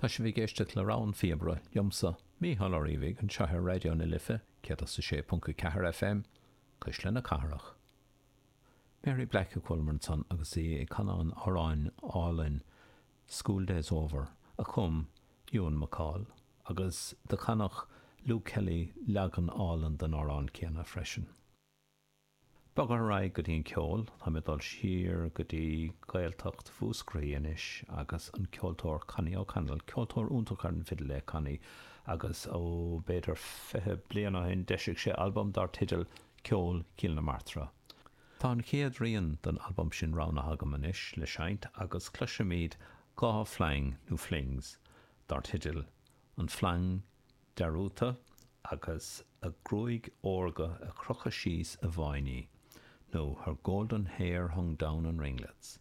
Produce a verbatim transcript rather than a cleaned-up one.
Tá sibh ag éisteacht le Rogha an Phíobaire liomsa, Mícheál Ó Riabhaigh, anseo ar Raidió na Life, céad is a sé ponc a ceathair F M, Cuisle na Cathrach. Mary Black a chualamar ansan agus í ag canadh an amhráin álainn "School Days Over" a chum Ewan MacColl, agus do chanadh Luke Kelly leagan álainn den amhrán céanna freisin. Bogadh ar aghaidh go dtí an ceol, tá mé dul siar go dtí Gaeltacht Mhúscraí anois agus an ceoltóir Connie O'Connell, ceoltóir iontach ar an bhfidil é Connie, agus ó b'fhéidir fiche bliain ó shin d'eisigh sé albam dar teideal Ceol Chill na Martra. Tá an chéad rian den albam sin roghnaithe agam anois le seinnt agus cloisfimid dhá flang nó flings dar teideal An Flang Dearúdta agus A Gruaig Órga a Crochadh Síos i bhFáinní, nó Her Golden Hair Hung Down in Ringlets.